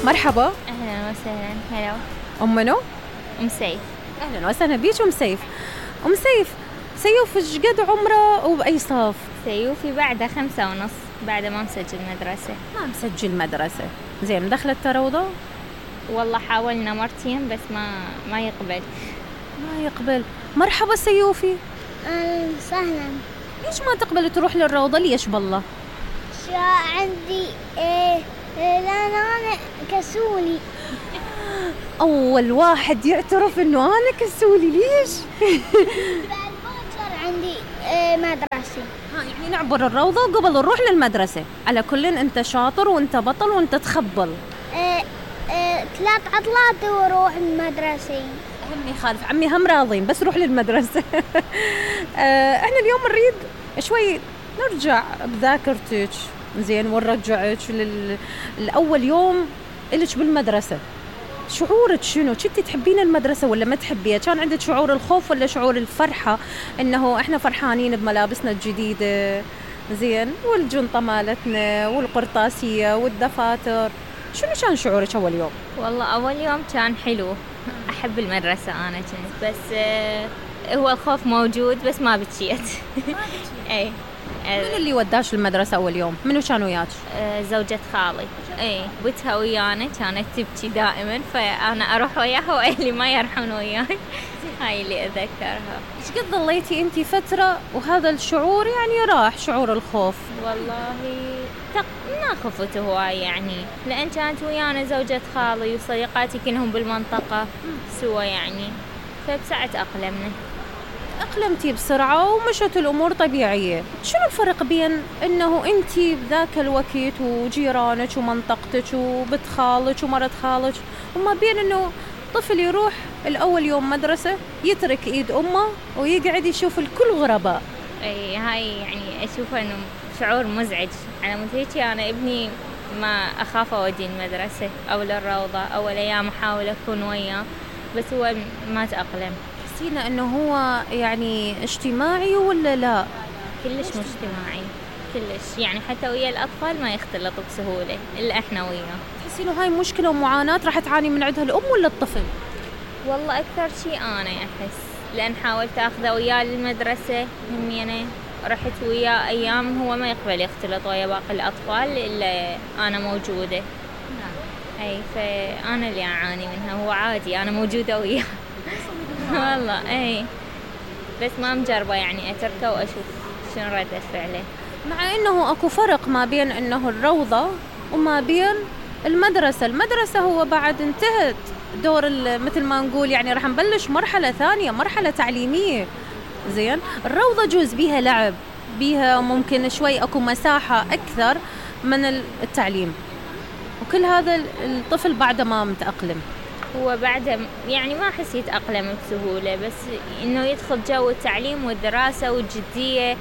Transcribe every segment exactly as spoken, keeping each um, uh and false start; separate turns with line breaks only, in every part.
مرحبا.
أهلا وسهلا. هلا.
أم منو؟
أم سيف.
أهلا وسهلا بيش أم سيف. أم سيف، سيوف ايش قد عمره وبأي صف؟
سيوفي بعده خمسة ونص، بعد ما مسجل مدرسة.
ما مسجل مدرسة. زين، دخلت روضة؟
والله حاولنا مرتين بس ما ما يقبل.
ما يقبل. مرحبا سيوفي.
أهلا وسهلا.
ليش ما تقبل تروح للروضة؟ ليش بالله؟
شا عندي إيه لأن أنا كسولي.
أول واحد يعترف إنه أنا كسولي. ليش؟
بعد باكر عندي إيه مدرسة.
ها يعني نعبر الروضة قبل نروح للمدرسة. على كل أنت شاطر وأنت بطل وأنت تخبل.
إيه إيه ثلاث عطلات وروح المدرسة.
عمي خالف، عمي هم راضين بس روح للمدرسة. آه، احنا اليوم نريد شوي نرجع بذاكرتك، زين، ونرجعك للأول يوم إلك بالمدرسة. شعورك شنو؟ كنتي تحبين المدرسة ولا ما تحبيها؟ كان عندك شعور الخوف ولا شعور الفرحة إنه إحنا فرحانين بملابسنا الجديدة، زين، والجنطة مالتنا والقرطاسية والدفاتر؟ شنو كان شعورك أول يوم؟
والله أول يوم كان حلو، أحب المدرسة أنا كنت، بس آه هو الخوف موجود بس ما بتشيت. أي.
منو اللي وداش المدرسة أول يوم؟ منو كان وياك؟
آه زوجة خالي. اي بنتها ويانا كانت تبكي دائما، فأنا أروح وياها وأهلي ما يروحون وياي. هاي اللي أذكرها.
إيش قد ظليتي أنتي فترة وهذا الشعور يعني راح، شعور الخوف؟
والله تق... ما خفت هواي يعني، لأن كانت ويانا زوجة خالي وصديقاتي كلهم بالمنطقة سوا يعني، فبساعة أقلمنا.
أقلمتي بسرعة ومشت الأمور طبيعية. شنو الفرق بين أنه أنتي بذاك الوقت وجيرانك ومنطقتك وبنت خالك ومرت خالك، وما بين أنه طفل يروح الأول يوم مدرسة يترك إيد أمه ويقعد يشوف الكل غرباء؟
أي هاي يعني أشوفه أنه شعور مزعج. على مود أنا ابني ما أخاف أودي المدرسة أو للروضة، أول أيام أحاول أكون وياه بس هو ما تأقلم.
حسينا أنه هو يعني اجتماعي ولا لا؟
كلش مش اجتماعي، كلش يعني حتى ويا الأطفال ما يختلط بسهولة إلا إحنا وياه.
تحسين هاي مشكلة ومعاناة راح تعاني من عندها الأم ولا الطفل؟
والله أكثر شيء أنا أحس، لأن حاولت أخذه وياه للمدرسة همينة، رحت وياه أيام هو ما يقبل يختلط ويا باقي الأطفال إلا أنا موجودة. أي فأنا اللي أعاني منها، هو عادي أنا موجودة وياه. والله أي بس ما مجربة يعني أتركه وأشوف شنو ردة فعله.
مع أنه أكو فرق ما بين أنه الروضة وما بين المدرسة. المدرسة هو بعد انتهت دور مثل ما نقول يعني راح نبلش مرحلة ثانية، مرحلة تعليمية، زين. الروضة جزء بيها لعب، بيها ممكن شوي أكو مساحة أكثر من التعليم، وكل هذا الطفل بعده ما متأقلم.
هو بعده يعني ما أحس يتأقلم بسهولة، بس إنه يدخل جو التعليم والدراسة والجدية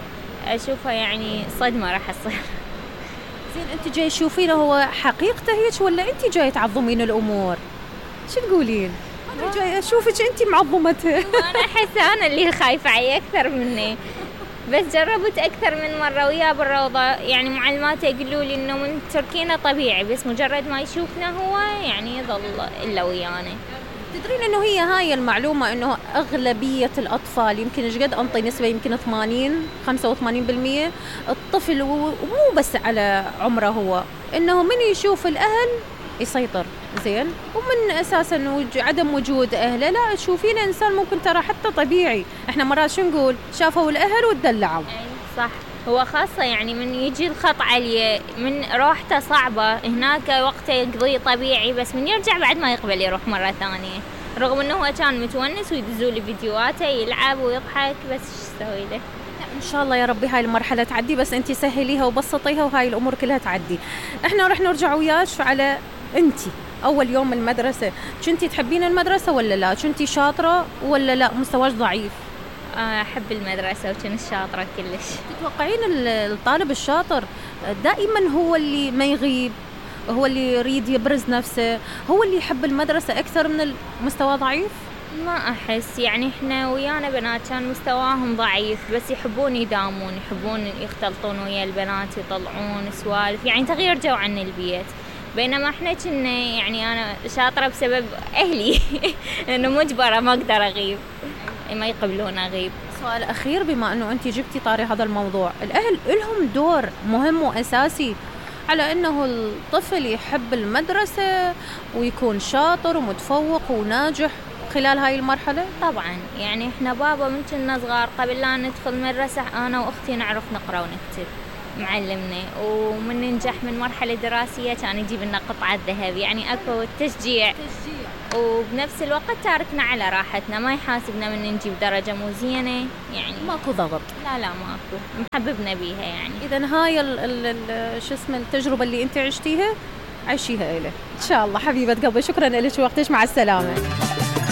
أشوفها يعني صدمة راح تصير.
زين، أنت جاي تشوفينه هو حقيقته هيك ولا أنت جاي تعظمين الأمور؟ شو تقولين؟ أنا جاي أشوفك أنت معظمتها.
أنا أحس أنا اللي خايفة عليه أكثر مني، بس جربت أكثر من مرة وياه بالروضة، يعني معلماته يقولوا لي إنه من تركينا طبيعي، بس مجرد ما يشوفنا هو يعني يظل إلا ويانا.
تدرين إنه هي هاي المعلومة إنه أغلبية الأطفال، يمكن إيش قد أنطي نسبة، يمكن ثمانين خمسة وثمانين بالمية الطفل، ومو بس على عمره هو، إنه من يشوف الأهل يسيطر، زين، ومن أساساً عدم وجود أهله لا تشوفين إنسان ممكن ترى حتى طبيعي. إحنا مرات شو نقول؟ شافوا الأهل وتدلعوا.
صح، هو خاصة يعني من يجي الخط عليه من روحته صعبة هناك وقته يقضي طبيعي، بس من يرجع بعد ما يقبل يروح مرة ثانية، رغم إنه هو كان متونس ويدزوا لي فيديوهاته يلعب ويضحك، بس إيش سوي له؟
إن شاء الله يا ربي هاي المرحلة تعدي، بس أنتي سهليها وبسطيها وهاي الأمور كلها تعدي. إحنا رح نرجع وياك على أنتي أول يوم المدرسة. كنتي تحبين المدرسة ولا لا؟ كنتي شاطرة ولا لا مستواش ضعيف؟
أحب المدرسة وكنت شاطرة كلش.
تتوقعين الطالب الشاطر دائما هو اللي ما يغيب، هو اللي يريد يبرز نفسه، هو اللي يحب المدرسة أكثر من المستوى ضعيف؟
ما أحس، يعني إحنا ويانا بنات كان مستواهم ضعيف بس يحبون يدامون، يحبون يختلطون ويا البنات، يطلعون سوالف، يعني تغيير جو عن البيت. بينما احنا كنا يعني انا شاطره بسبب اهلي لانه مجبره ما اقدر اغيب، ما يقبلون اغيب.
سؤال اخير، بما انه انت جبتي طاري هذا الموضوع، الاهل لهم دور مهم واساسي على انه الطفل يحب المدرسه ويكون شاطر ومتفوق وناجح خلال هاي المرحله؟
طبعا، يعني احنا بابا من كنا صغار قبل لا ندخل مدرسه انا واختي نعرف نقرا ونكتب، معلمنا، ومن ننجح من مرحله دراسيه كان يجيب لنا قطعه ذهب، يعني اكو تشجيع. وبنفس الوقت تاركنا على راحتنا، ما يحاسبنا من نجيب درجه مو زينه، يعني
ماكو ضغط.
لا لا ماكو، محببنا بيها يعني.
اذا هاي ال ال شو اسمه التجربه اللي انت عشتيها عيشيها إله ان شاء الله. حبيبه قلبي شكرا لك وقتك، مع السلامه.